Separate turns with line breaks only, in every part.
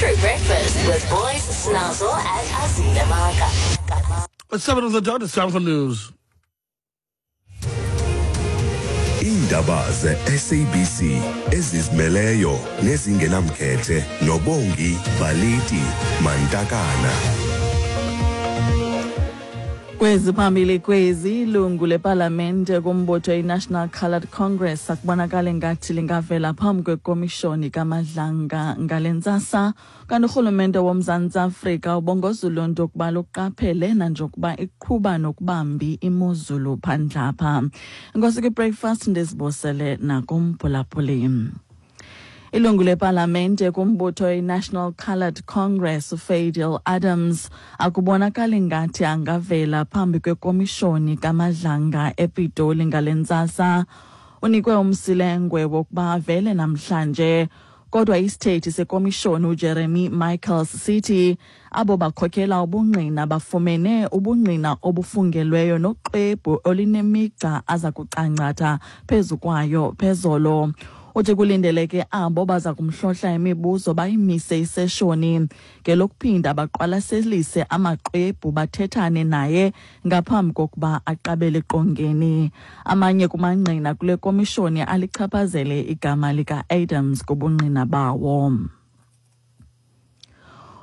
True Breakfast with Boys Snazzle and Azita Maka.
It's 7 on the dot, it's time for news.
Iindaba ze-SABC ezizimeleyo nezingenamkhethe noBongi Baliti Mantakana.
Kwezi phambili kwezi ilungu lepalamente kumbutho iNational Coloured Congress akubonakale ngathi lingavela phambi kwekomishoni kaMadlanga ngale ntsasa. Kanti urhulumente woMzantsi Afrika ubongoza uluntu ukuba luqaphele nanjengokuba iqhuba nokubambi imozulu phandle apha. Enkosi kwi-breakfast ndizibosele nakumphulaphuli. Ilungu lepalamente kumbutho iNational Coloured Congress uFadil Adams akubonakali ngathi angavela phambi kwekomishoni kaMadlanga ePitoli ngale ntsasa. Unikwe umsilengwe wokuba avele namhlanje, kodwa isithethi sekomishoni uJeremy Michaels sithi abo bakhokela ubungqina bafumene ubungqina obufungelweyo noxwebhu olunemigca aza kucangcatha phezu kwayo phezolo. Uthi kulindeleke abo baza kumhlohla imibuzo bayimise iseshoni ngelokuphinda baqwalaselise amaxwebhu bathethane naye ngaphambi kokuba aqabele eqongeni. Amanye kumangqina kule komishoni alichaphazele igama lika-Adams kubungqina bawo.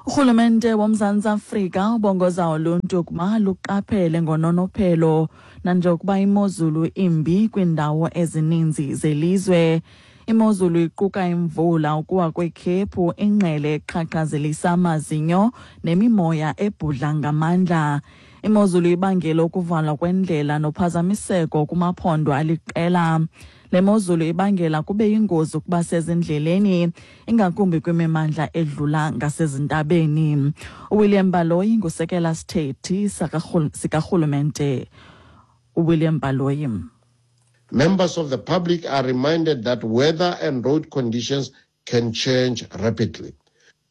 Urhulumente woMzantsi Afrika ubongoza uluntu ukuba luqaphele ngononophelo nanjengokuba imozulu imbi kwiindawo ezininzi zelizwe. Imozulu iquka imvula, ukuwa kwekhephu, ingqele eqhaqhazelisa amazinyo nemimoya ebhudla ngamandla. Imozulu ibangela ukuvalwa kwendlela nophazamiseko kumaphondo aliqela. Le mozulu ibangela kube yingozi ukuba sezindleleni, ingakumbi kwimimandla edlula ngasezintabeni. UWilliam Baloyi ngusekela sithethi sikarhulumente uWilliam Baloyi.
Members of the public are reminded that weather and road conditions can change rapidly.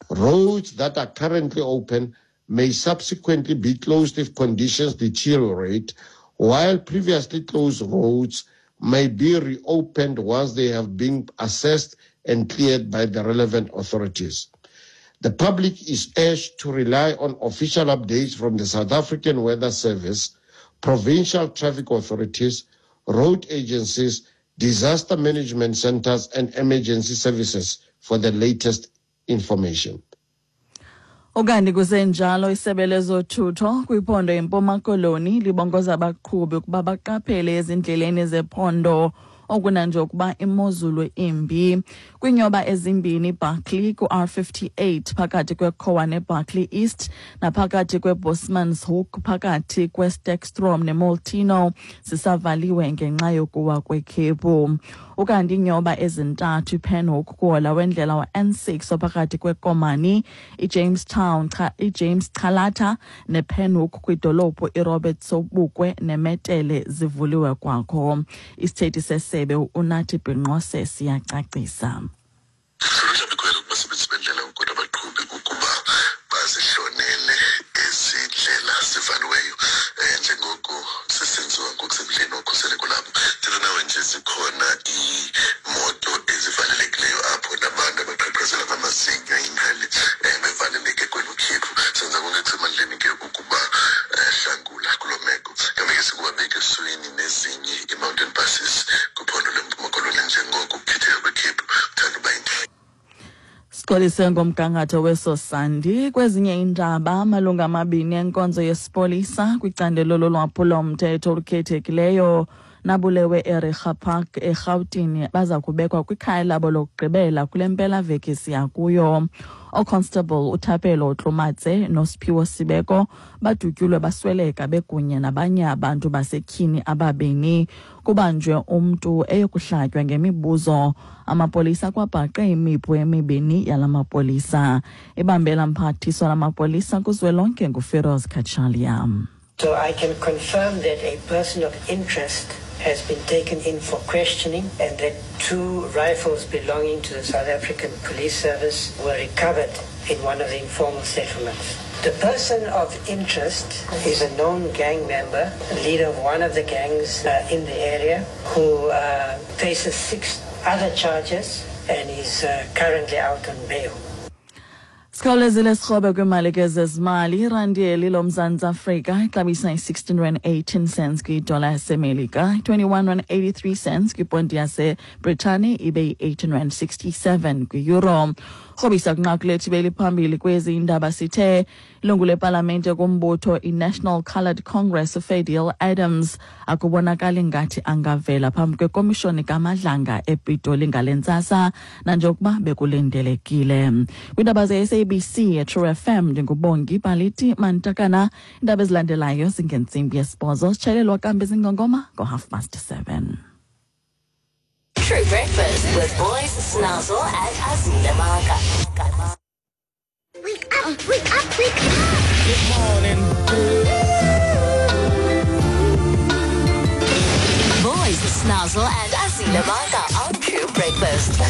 Roads that are currently open may subsequently be closed if conditions deteriorate, while previously closed roads may be reopened once they have been assessed and cleared by the relevant authorities. The public is urged to rely on official updates from the South African Weather Service, provincial traffic authorities, road agencies, disaster management centers, and emergency services for the latest information.
Ukanti kusenjalo isebe lezothutho kwiphondo iMpuma Koloni libongoza abaqhubi ukuba baqaphele ezindleleni zephondo okunanje ukuba imozulu imbi. Kwinyoba ezimbini Barkley ku-R58 phakathi kweKhowa neBarkley East naphakathi kweBosmanshoek phakathi kweSterkstroom neMolteno zisavaliwe ngenxa yokuwa kwekhephu. Ukanti iinyoba ezintathu iPenhoek kuhola wendlela wa-N6 ophakathi kweKomani, iJamestown, iJames Calata nePenhoek kwidolophu iRobert Sobukwe neMetele zivuliwe kwakho. Isithethi sesebe uNathi Bhinqose siyacacisa. Sixolise ngomgangatho weso sandi. Kwezinye iindaba, amalungu amabini enkonzo yesipolisa kwicandelo lolwaphulomthetho olukhethekileyo nabulewe eReiger Park eRhawutini baza kubekwa kwikhaya labo lokugqibela kule mpelaveki siya kuyo. Oconstable uThapelo Tlomatse noSiphiwo Sibeko badutyulwe basweleka bekunye nabanye abantu basetyhini ababini. Kubanjwe umntu eyokuhlatywa ngemibuzo. Amapolisa kwabhaqe imipu emibini yala mapolisa. Ibambela mphathiswa lamapolisa kuzwelonke nguFiroz Cachalia.
So I can confirm that a person of interest has been taken in for questioning and that 2 rifles belonging to the South African Police Service were recovered in one of the informal settlements. The person of interest is a known gang member, leader of one of the gangs in the area, who faces 6 other charges and is currently out on bail.
Sikhawulezile sirhobe kwimali ke zezimali. Irandi eli loMzantsi Afrika ixabisa i-16 rand 18 cents kwidola yaseMelika, 21 rand 83 cents kwiponti yaseBritani, ibe yi-18 rand 67 kwi-euro. Rhobisa kwinqaku lethu beliphambili kwezi indaba sithe ilungu lepalamente kumbutho i-National Coloured Congress uFadiel Adams akubonakali ngathi angavela phambi kwekomishoni kaMadlanga ePitoli ngale ntsasa nanjengokuba bekulindelekile. Kwiindaba ze-SABC eTrue FM ndinguBongi Baliti Mantakana. Iindaba ezilandelayo zingentsimbi yesibhozo, sitshaylelwa kambe zingongoma ngo-7:30.
True Breakfast with Boys Snazzle and Azile Maka.
Wake up, wake up, wake up.
Good morning.
Boys Snazzle and Azile Maka on True Breakfast.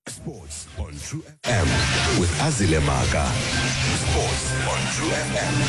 Sports on True FM with Azile Maka. Sports on True FM.